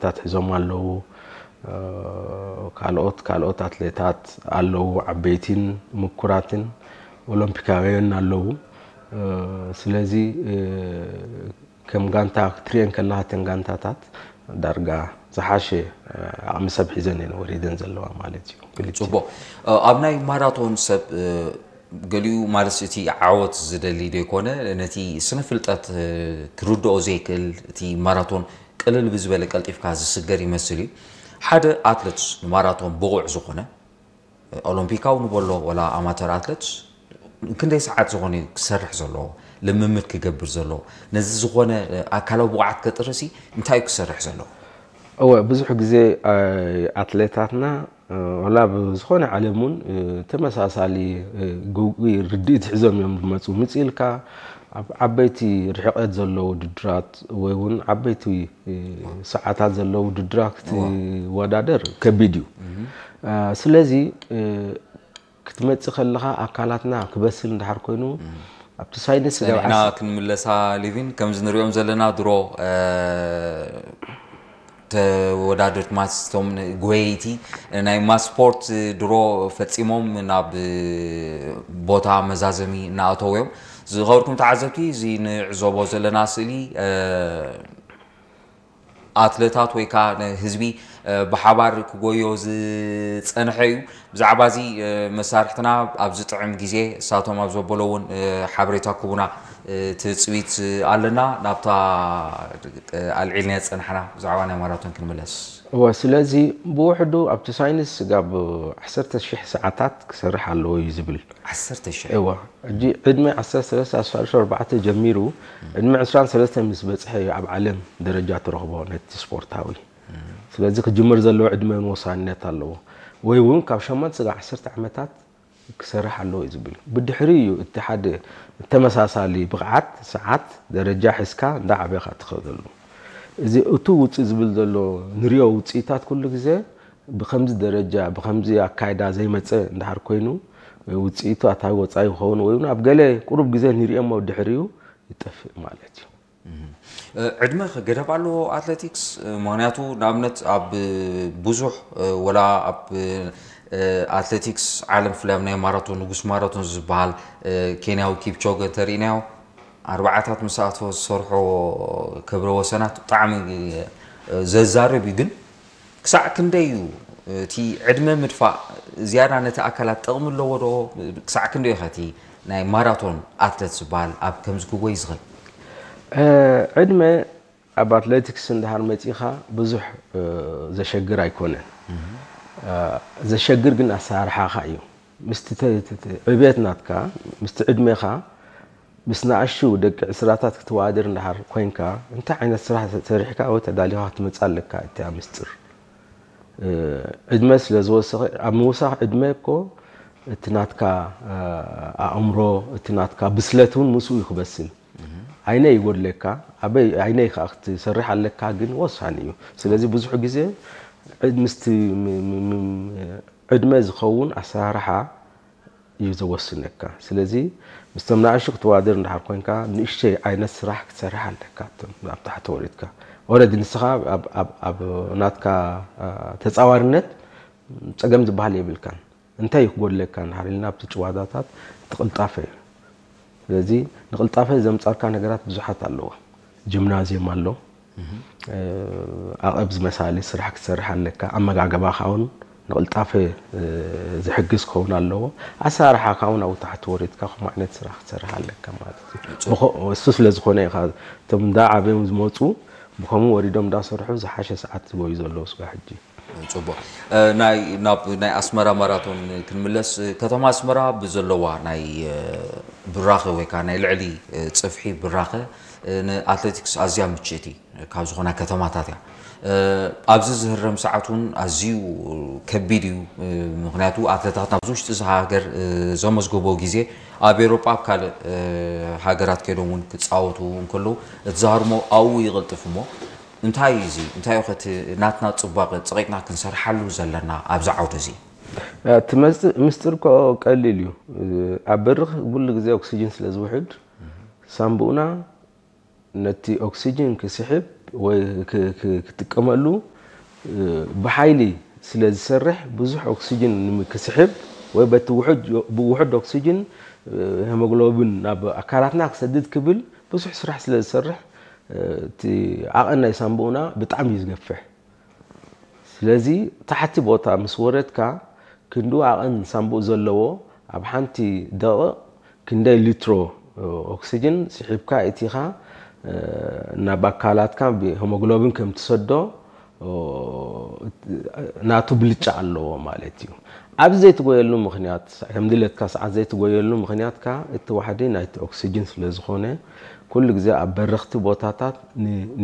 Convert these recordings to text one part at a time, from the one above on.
ሜዳታት ሒዞም ኣለዉ። ካልኦት ካልኦት ኣትሌታት ኣለዉ፣ ዓበይቲን ምኩራትን ኦሎምፒካውያን ኣለዉ። ስለዚ ከም ጋንታ ክትሪኤን ከለኻ፣ እተን ጋንታታት ዳርጋ ዝሓሸ ዓቕሚ ሰብ ሒዘን እየን ወሪደን ዘለዋ ማለት እዩ። ጽቡቕ። ኣብ ናይ ማራቶን ሰብ ገሊኡ ማለት እቲ ዓወት ዝደሊ ዶ ይኮነ፣ ነቲ ስነ ፍልጠት ክርድኦ ዘይክእል፣ እቲ ማራቶን ቅልል ብዝበለ ቀልጢፍካ ዝስገር ይመስል እዩ። ሓደ ኣትለት ንማራቶን ብቑዕ ዝኾነ ኦሎምፒካዊ ንበሎ ወላ ኣማተር ኣትለት ክንደይ ሰዓት ዝኾነ እዩ ክሰርሕ ዘለዎ፣ ልምምድ ክገብር ዘለዎ፣ ነዚ ዝኾነ ኣካላዊ ብቕዓት ከጥርሲ እንታይ እዩ ክሰርሕ ዘለዎ? እወ፣ ብዙሕ ግዜ ኣትሌታትና ዋላ ብዝኾነ ዓለም እውን ተመሳሳሊ ግጉይ ርድኢት ሒዞም እዮም ዝመፁ። ምፅ ኢልካ ኣብ ዓበይቲ ርሕቀት ዘለዎ ውድድራት ወይ እውን ዓበይቲ ሰዓታት ዘለዎ ውድድራት ክትወዳደር ከቢድ እዩ። ስለዚ ክትመፅእ ከለኻ ኣካላትና ክበስል እንድሓር ኮይኑ ኣብቲ ሳይንስ ንሕና ክንምለሳ ሊቪን ከምዚ ንሪኦም ዘለና ድሮ ተወዳደርቲ ማስቶም ጎየይቲ ናይ ማስፖርት ድሮ ፈፂሞም ናብ ቦታ መዛዘሚ እናኣተው እዮም። ዝኸበርኩም ተዓዘብቲ፣ እዚ ንዕዘቦ ዘለና ስእሊ ኣትለታት ወይ ከዓ ንህዝቢ ብሓባር ክጎዮ ዝፀንሐ እዩ። ብዛዕባ እዚ መሳርሕትና ኣብ ዝጥዕም ግዜ እሳቶም ኣብ ዘበሎ እውን ሓበሬታ ክቡና ትፅቢት ኣለና። ናብታ ኣልዒልናዮ ዝፀናሕና ብዛዕባ ናይ ማራቶን ክንምለስ። እወ፣ ስለዚ ብውሕዱ ኣብቲ ሳይንስ ስጋብ ዓሰርተ ሽሕ ሰዓታት ክሰርሕ ኣለዎ እዩ ዝብል። ዓሰርተ ሽሕ እወ፣ ሕጂ ዕድመ ዓሰርተ ሰለስተ ኣስታት ኣርባዕተ ጀሚሩ ዕድመ ዕስራን ሰለስተን ምስ በፅሐ እዩ ኣብ ዓለም ደረጃ ትረኽቦ ነቲ ስፖርታዊ። ስለዚ ክጅምር ዘለዎ ዕድመ እውን ወሳንነት ኣለዎ። ወይ እውን ካብ ሸሞንተ ስጋብ ዓሰርተ ዓመታት ክሰርሕ ኣለዎ እዩ ዝብል። ብድሕሪ እዩ እቲ ሓደ ተመሳሳሊ ብቕዓት ሰዓት ደረጃ ሒዝካ እንዳዓበኻ ትኸደሉ። እዚ እቱ ውፅእ ዝብል ዘሎ ንሪኦ ውፅኢታት ኩሉ ግዜ ብከምዚ ደረጃ ብከምዚ ኣካይዳ ዘይመፀ እንድሓር ኮይኑ ውፅኢቱ ኣታዊ ወፃኢ ይኸውን ወይ እውን ኣብ ገለ ቁሩብ ግዜ ንሪኦሞ ድሕሪኡ ይጠፍእ ማለት እዩ። ዕድመ ገደብ ኣለዎ ኣትሌቲክስ? ምክንያቱ ንኣብነት ኣብ ብዙሕ ወላ ኣብ ኣትሌቲክስ ዓለም ብፍላይ ኣብ ናይ ማራቶን ንጉስ ማራቶን ዝበሃል ኬንያዊ ኪፕቾገ እንተሪእናዮ ኣርባዓታት ምስ ኣተወ ዝሰርሖ ክብረ ወሰናት ብጣዕሚ ዘዛርብ እዩ። ግን ክሳዕ ክንደይ እዩ እቲ ዕድመ ምድፋእ ዝያዳ ነቲ ኣካላት ጥቕሚ ኣለዎ ዶ? ክሳዕ ክንደይ እዩ ኸ እቲ ናይ ማራቶን ኣትለት ዝበሃል ኣብ ከምዚ ክጎይ ዝኽእል? ዕድመ ኣብ ኣትሌቲክስ እንድሓር መፂኻ ብዙሕ ዘሸግር ኣይኮነን። ዘሸግር ግን ኣሰራርሓኻ እዩ። ምስቲ ዕብየት ናትካ ምስቲ ዕድሜኻ ምስ ንኣሽቱ ደቂ ዕስራታት ክትወዳደር እንድሓር ኮይንካ እንታይ ዓይነት ስራሕ ሰሪሕካ ወይ ተዳሊኻ ክትመፅእ ኣለካ እቲኣ ምስጢር። ዕድመ ስለ ዝወሰኸ ኣብ ምውሳኽ ዕድመ እኮ እቲ ናትካ ኣእምሮ እቲ ናትካ ብስለት እውን ምስኡ እዩ ክበስል። ዓይነ ይጎድለካ ኣበይ ዓይነይ ከዓ ክትሰርሕ ኣለካ ግን ወሳኒ እዩ። ስለዚ ብዙሕ ግዜ ምስቲ ዕድመ ዝኸውን ኣሰራርሓ እዩ ዘወስነካ። ስለዚ ምስቶም ንኣሽቱ ክትወዳደር እንድሓር ኮይንካ ንእሽተይ ዓይነት ስራሕ ክትሰርሕ ኣለካ። ኣብ ታሕቲ ወሪድካ ኦረዲ ንስኻ ኣብ ናትካ ተፃዋርነት ፀገም ዝበሃል የብልካን። እንታይ እዩ ክጎድለካ እንድሓር ኢልና ኣብቲ ጭዋዳታት እቲ ቅልጣፈ እዩ። ስለዚ ንቅልጣፈ ዘምፃልካ ነገራት ብዙሓት ኣለዎ። ጅምናዝየም ኣሎ፣ ኣቐብ ዝመሳሊ ስራሕ ክትሰርሕ ኣለካ። ኣመጋገባኻ እውን ንቅልጣፈ ዝሕግዝ ክኸውን ኣለዎ። ኣሰራርሓኻ እውን ኣብኡ ታሕቲ ወሪድካ ከምኡ ዓይነት ስራሕ ክትሰርሕ ኣለካ ማለት እዩ። እሱ ስለ ዝኾነ ኢኻ እቶም እንዳ ዓብዮም ዝመፁ ብከምኡ ወሪዶም እንዳሰርሑ ዝሓሸ ሰዓት ዝጎዩ ዘለዉ ስጋ ሕጂ። ፅቡቅ። ናይ ናብ ናይ ኣስመራ ማራቶን ክንምለስ፣ ከተማ ኣስመራ ብዘለዋ ናይ ብራኸ ወይ ከዓ ናይ ልዕሊ ፅፍሒ ብራኸ ንኣትሌቲክስ ኣዝያ ምችእቲ ካብ ዝኾና ከተማታት እያ። ኣብዚ ዝህረም ሰዓት እውን ኣዝዩ ከቢድ እዩ። ምክንያቱ ኣትሌታት ናብዚ ውሽጢ እዚ ሃገር ዘመዝገቦ ግዜ ኣብ ኤሮጳ ኣብ ካልእ ሃገራት ከይዶም እውን ክፃወቱ እንከለዉ እቲ ዝሃርሞ ኣብኡ ይቕልጥፍ እሞ እንታይ እዩ እዚ? እንታይ እዩ ከቲ ናትና ፅባቐ ፀቒጥና ክንሰርሓሉ ዘለና ኣብዚ ዓውዲ እዚ? እቲ መፅእ ምስጢር እኮ ቀሊል እዩ። ኣብ በርኽ ኩሉ ግዜ ኦክሲጅን ስለ ዝውሕድ ሳምቡእና ነቲ ኦክሲጅን ክስሕብ ወይ ክ- ክ- ክጥቀመሉ ብሓይሊ ስለ ዝሰርሕ ብዙሕ ኦክሲጅን ክስሕብ ወይ በቲ ውሑድ ብውሑድ ኦክሲጅን ሄሞግሎቢን ናብ ኣካላትና ክሰድድ ክብል ብዙሕ ስራሕ ስለ ዝሰርሕ እቲ ዓቐን ናይ ሳንቡእና ብጣዕሚ እዩ ዝገፍሕ። ስለዚ ታሕቲ ቦታ ምስ ወረድካ ክንዱ ዓቐን ሳንቡእ ዘለዎ ኣብ ሓንቲ ደቕቕ ክንደይ ሊትሮ ኦክሲጅን ስሒብካ እቲኻ ናብ ኣካላትካ ብሄሞግሎቢን ከም ትሰዶ ናቱ ብልጫ ኣለዎ ማለት እዩ። ኣብ ዘይትጎየሉ ምክንያት ከም ድለትካ ሰዓት ዘይትጎየሉ ምክንያት ከ እቲ ዋሕዲ ናይቲ ኦክሲጅን ስለ ዝኾነ ኩሉ ግዜ ኣብ በረኽቲ ቦታታት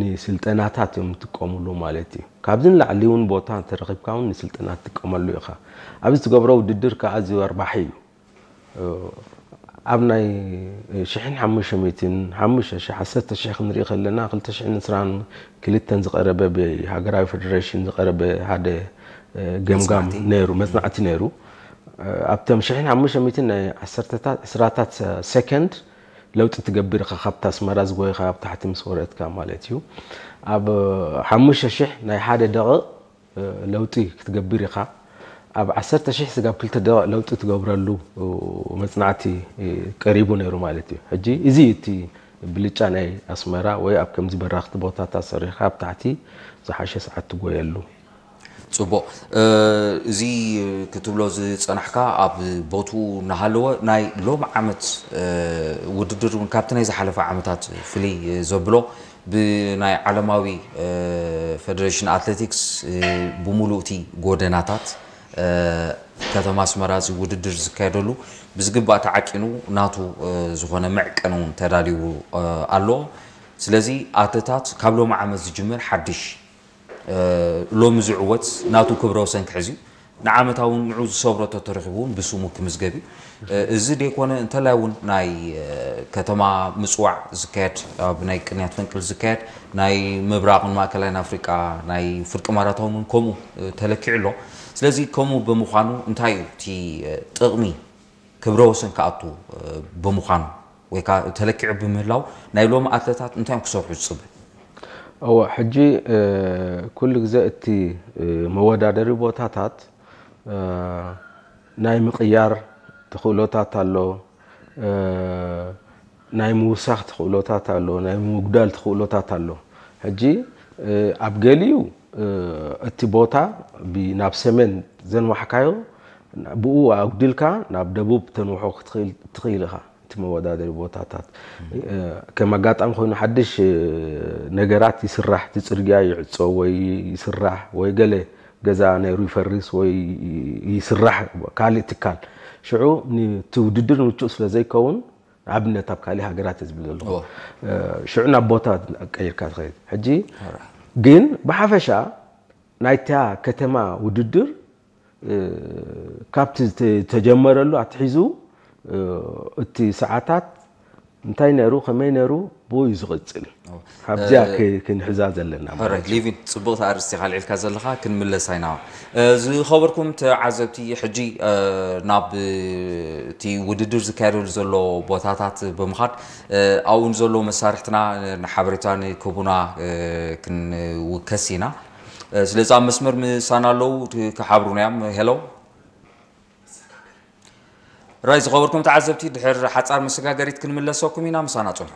ንስልጠናታት እዮም ትጥቀምሉ ማለት እዩ። ካብዚ ንላዕሊ እውን ቦታ እንተረኺብካ እውን ንስልጠና ትጥቀመሉ ኢኻ። ኣብዚ ትገብሮ ውድድር ከ ኣዝዩ ኣርባሒ እዩ። ኣብ ናይ ሽሕን ሓሙሽተ ሚእትን ሓሙሽተ ሽሕ ዓሰርተ ሽሕ ክንርኢ ከለና ክልተ ሽሕን ዕስራን ክልተን ዝቐረበ ብሃገራዊ ፌደሬሽን ዝቐረበ ሓደ ገምጋም ነይሩ፣ መጽናዕቲ ነይሩ። ኣብቶም ሽሕን ሓሙሽተ ሚእትን ናይ ዓሰርተታት ዕስራታት ሰከንድ ለውጢ ትገብር ኢኻ። ካብታ ኣስመራ ዝጎይኻ ኣብ ታሕቲ ምስ ወረድካ ማለት እዩ። ኣብ ሓሙሽተ ሽሕ ናይ ሓደ ደቕቕ ለውጢ ክትገብር ኢኻ። ኣብ ዓሰርተ ሽሕ ስጋብ ክልተ ደቕቕ ለውጢ ትገብረሉ መጽናዕቲ ቀሪቡ ነይሩ ማለት እዩ። ሕጂ እዚ እቲ ብልጫ ናይ ኣስመራ ወይ ኣብ ከምዚ በራኽቲ ቦታታት ሰሪሕካ ኣብ ታሕቲ ዝሓሸ ሰዓት ትጎየሉ። ጽቡቕ። እዚ ክትብሎ ዝጸናሕካ ኣብ ቦቱ እናሃለወ ናይ ሎም ዓመት ውድድር እውን ካብቲ ናይ ዝሓለፈ ዓመታት ፍልይ ዘብሎ ብናይ ዓለማዊ ፌደሬሽን ኣትሌቲክስ ብሙሉእ እቲ ጎደናታት ከተማ ኣስመራ እዚ ውድድር ዝካየደሉ ብዝግባእ ተዓቂኑ ናቱ ዝኾነ መዕቀኒ እውን ተዳልዩ ኣሎ። ስለዚ ኣትሌታት ካብ ሎሚ ዓመት ዝጅምር ሓድሽ ሎሚ ዝዕወት ናቱ ክብረ ወሰን ክሕዝ እዩ። ንዓመታ እውን ንዑ ዝሰብሮ ተተረኺቡ እውን ብስሙ ክምዝገብ እዩ። እዚ ደይኮነ እንተላይ እውን ናይ ከተማ ምፅዋዕ ዝካየድ ኣብ ናይ ቅንያት ፈንቅል ዝካየድ ናይ ምብራቕን ማእከላይን ኣፍሪቃ ናይ ፍርቂ ማራቶን እውን ከምኡ ተለኪዑ ኣሎ። ስለዚ ከምኡ ብምዃኑ እንታይ እዩ እቲ ጥቕሚ ክብረ ወሰን ክኣቱ ብምዃኑ ወይ ከዓ ተለኪዑ ብምህላው ናይ ሎሚ ኣትለታት እንታይ እዮም ክሰርሑ ዝፅበ? እወ ሕጂ ኩሉ ግዜ እቲ መወዳደሪ ቦታታት ናይ ምቕያር ተኽእሎታት ኣሎ፣ ናይ ምውሳኽ ተኽእሎታት ኣሎ፣ ናይ ምጉዳል ተኽእሎታት ኣሎ። ሕጂ ኣብ ገሊኡ እቲ ቦታ ናብ ሰሜን ዘንዋሕካዮ ብኡ ኣጉዲልካ ናብ ደቡብ ተንውሖ ክትኽእል ኢኻ። እቲ መወዳደሪ ቦታታት ከም ኣጋጣሚ ኮይኑ ሓድሽ ነገራት ይስራሕ፣ እቲ ፅርግያ ይዕፆ ወይ ይስራሕ ወይ ገለ ገዛ ነይሩ ይፈርስ ወይ ይስራሕ ካልእ ትካል ሽዑ እቲ ውድድር ምቹእ ስለ ዘይከውን ንኣብነት ኣብ ካልእ ሃገራት እየ ዝብል ዘለኹ ሽዑ ናብ ቦታ ቀይርካ ትኸይድ ሕጂ ግን ብሓፈሻ ናይታ ከተማ ውድድር ካብቲ ዝተጀመረሉ ኣትሒዙ እቲ ሰዓታት እንታይ ነይሩ ከመይ ነይሩ ብኡ እዩ ዝቕፅል ካብዚያ ክንሕዛ ዘለና ሊቪን ፅቡቕቲ ኣርእስቲ ካልዒልካ ዘለኻ ክንምለስ ኣይና ዝኸበርኩም ተዓዘብቲ ሕጂ ናብ እቲ ውድድር ዝካየደሉ ዘሎ ቦታታት ብምኻድ ኣብኡ ንዘለዉ መሳርሕትና ንሓበሬታ ንክቡና ክንውከስ ኢና ስለዚ ኣብ መስመር ምሳና ኣለዉ ክሓብሩና እዮም ሄሎ ራይ ዝኸበርኩም ተዓዘብቲ ድሕር ሓፃር መሰጋገሪት ክንምለሰኩም ኢና ምሳና ፅንሑ